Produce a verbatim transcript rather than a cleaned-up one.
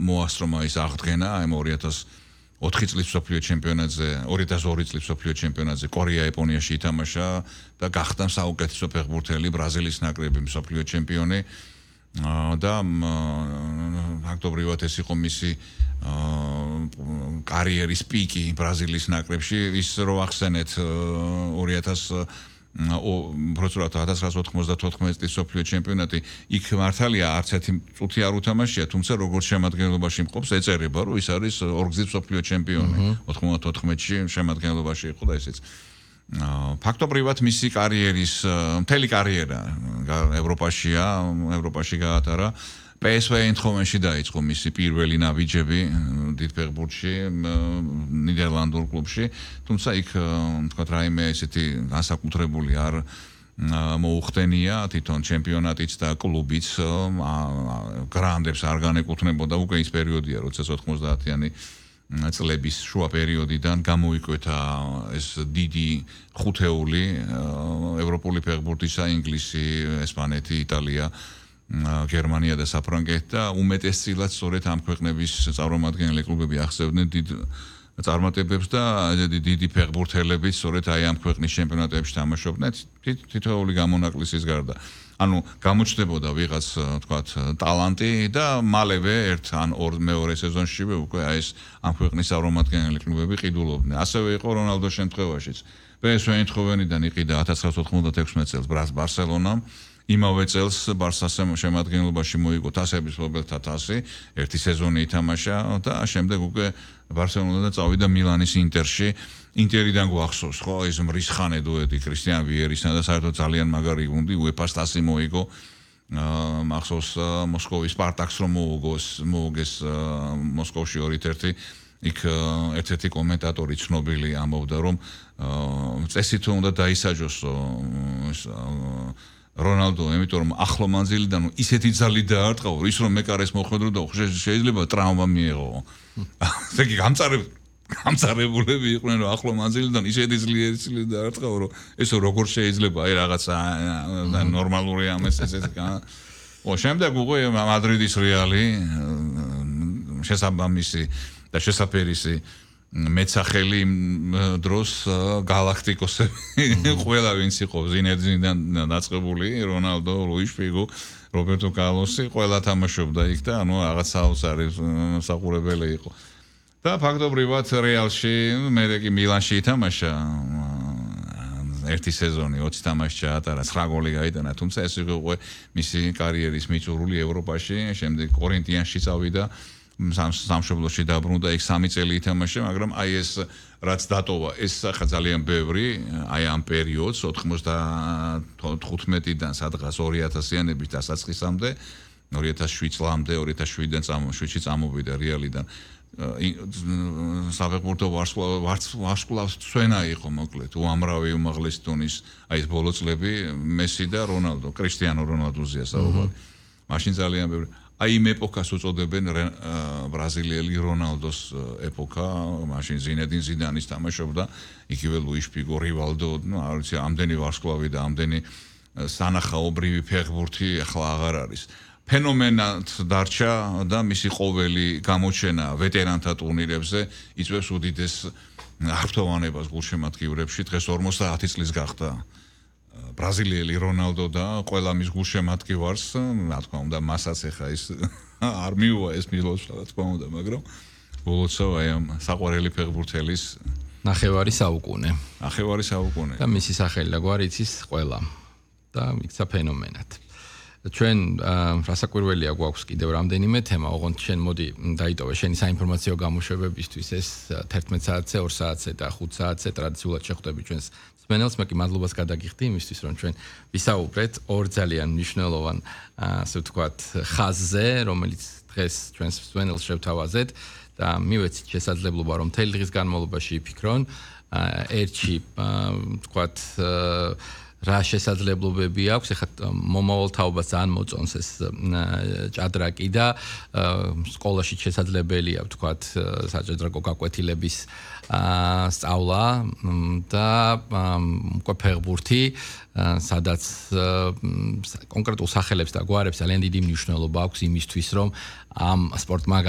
მოასწრომა ის აღდგენა აი ორი ათას ოთხი წლის მსოფლიო ჩემპიონატზე, ორი ათას ორი წლის მსოფლიო ჩემპიონატზე კორეა-იაპონიაში ითამაშა და გახდა საუკეთესო ფეხბურთელი ბრაზილიის ნაკრების მსოფლიო ჩემპიონი. და ფაქტობრივად ეს იყო მისი კარიერის პიკი ბრაზილიის ნაკრებში, ის რო ახსენეთ ორი ათას უბრალოდ ათას ცხრაასა ოთხმოცდათოთხმეტი წლის მსოფლიო ჩემპიონატი იქ მართალია არც ერთი წუთი არ უთამაშია, თუმცა როგორც შემადგენლობაში მყოფს ეწერება, რომ ის არის ორგზის მსოფლიო ჩემპიონი. ოთხმოცდათოთხმეტში შემადგენლობაში იყო და ესეც ფაქტობრივად მისი კარიერის მთელი კარიერა ევროპაშია, ევროპაში გაატარა. პე ეს ვე Eindhovenში დაიწყო მისი პირველი ნაბიჯები დიდ ფეხბურთში, ნიდერლანდურ კლუბში, თუმცა იქ თქვათ რაიმე ესეთი განსაკუთრებული არ მოუხდენია, თვითონ ჩემპიონატიც და კლუბიც გრანდებს არ განეკუთვნებოდა, უკვე ის პერიოდია, როცა ოთხმოცდაათიანი წლების შუა პერიოდიდან გამოიკვეთა ეს დიდი ხუთეული ევროპული ფეხბურთისა, ინგლისი, ესპანეთი, იტალია, გერმანია და საფრანგეთი და უმეტესწილად სწორედ ამ ქვეყნების წარმომადგენელი კლუბები ახსენებდნენ დიდ წარმატებებს და დიდი ფეხბურთელებიც სწორედ აი ამ ქვეყნის ჩემპიონატებში თამაშობდნენ თითოეული გამონაკლისის გარდა. ანუ გამოჩნდებოდა ვიღაც თქვათ ტალანტი და მალევე ერთ ან ორ მეორე სეზონშივე უკვე აი ეს ამ ქვეყნის წარმომადგენელი კლუბები ყიდულობდნენ. ასევე იყო რონალდოს შემთხვევაშიც. პე ეს ვე Eindhovenიდან იყიდა ათას ცხრაასა ოთხმოცდათექვსმეტ წელს ბარსელონამ. იმავე წელს ბარსას შემადგენლობაში მოიგო თასების მფლობელთა თასი, ერთი სეზონი ითამაშა და შემდეგ უკვე ბარსელონიდან წავიდა მილანის ინტერში. ინტერიდან გვახსოვს, ხო, ეს მრისხანე დუეტი კრისტიან ვიერისთან და საერთოდ ძალიან მაგარი გუნდი უეფას თასი მოიგო. მახსოვს მოსკოვის სპარტაკს რომ მოუგოს, მოუგეს მოსკოვში ორით ერთი. იქ ერთ-ერთი კომენტატორი ცნობილი ამბობდა, რომ წესით უნდა დაისაჯოსო ეს რონალდო, იმიტომ რომ ახლო მანძილიდან ისეთი ძალი დაარტყა, ის რომ მეკარეს მოხვედროდა, შეიძლება ტრავმა მიეღო. ესე იგი გამწარებ გამწარებულები იყვნენ, რომ ახლო მანძილიდან ისეთი ძლიერი ძილი დაარტყა, რომ ესო როგორ შეიძლება აი რაღაცა ნორმალური ამას ესეთი გან. ო შემდეგ უკვე მადრიდის რეალი შესაბამისი და შესაფერისი მეცახელი დროს გალაქტიკოსები ყველა ვინც იყო ზინედინიდან დაწყებული, რონალდო, ლუის ფიგო, რობერტო კარლოსი, ყველა თამაშობდა იქ და ანუ რაღაც საოცარი საყურებელი იყო. და ფაქტობრივად რეალში, მერე კი მილანში ითამაშა ერთი სეზონი, ოცი თამაში ჩაატარა, ცხრა გოლი გაიტანა, თუმცა ეს იყო უკვე მისი კარიერის მიწურული ევროპაში, შემდეგ კორინთიანში წავიდა. სამშობლოში დაბრუნდა, იქ სამი წელი ითამაშა, მაგრამ აი ეს რაც დატოვა, ეს ხა ძალიან ბევრი, აი ამ პერიოდს ოთხმოცდათხუთმეტიდან სადღაც ორი ათასიანების დასაწყისამდე, ორი ათას შვიდ წლამდე, ორი ათას შვიდიდან შვიდში წამოვიდა რეალიდან. საფეხბურთო ვარსკვლავს სვენა იყო მოკლედ, უამრავი უმაღლესი დონის აი ეს ბოლო წლები მესი და რონალდო, კრისტიანო რონალდოზია საუბარი. მაშინ ძალიან ბევრი აი იმ ეპოქას უწოდებენ ბრაზილიელი რონალდოს ეპოქა, მაშინ ზინედინ ზიდანის თამაშობდა, იგივე ლუის ფიგო, რივალდო, ну, არ ვიცი, ამდენი ვარსკვლავი და ამდენი სანახაობრივი ფეხბურთი ახლა აღარ არის. ფენომენად დარჩა და მისი ყოველი გამოჩენა ვეტერანთა ტურნირებზე იწვევს უდიდეს აღფრთოვანებას გულშემატკივრებში, დღეს ორმოცდაათი წლის გახდა. ბრაზილიელი რონალდო და ყველა მის გულშემატკივარს, რა თქმა უნდა, მასაც ახლა ის არ მიუვა ეს მილოსა, რა თქმა უნდა, მაგრამ ბოლოცავ აი ამ საყვარელი ფეხბურთელის ნახევარი საუკუნე. ნახევარი საუკუნე. და მისი სახელი და გვარი იცის ყველა და იქცა ფენომენად. ჩვენ რასაკვირველია გვაქვს კიდევ რამდენიმე თემა, ოღონდ შენ მოდი დაიტოვე შენი საინფორმაციო გამოშვებებისთვის ეს თერთმეტ საათზე, ორ საათზე და ხუთ საათზე ტრადიციულად შეხვდები ჩვენს მსმენელს, მე კი მადლობას გადაგიხდი იმისთვის, რომ ჩვენ ვისაუბრეთ ორ ძალიან მნიშვნელოვან, ასე ვთქვათ, ხაზზე, რომელიც დღეს ჩვენს მსმენელს შევთავაზეთ და მივეცით შესაძლებლობა, რომ მთელი დღის განმავლობაში იფიქრონ, ერთში, ვთქვათ, რა შესაძლებლობები აქვს, ეხლა მომავალ თაობას ძალიან მოწონს ეს ჭადრაკი და სკოლაში შესაძლებელია, ვთქვათ, საჭადრაკო გაკვეთილების სწავლა და უკვე ფეხბურთი, სადაც კონკრეტულ სახელებს და გვარებს ძალიან დიდი მნიშვნელობა აქვს იმისთვის, რომ ამ სპორტმა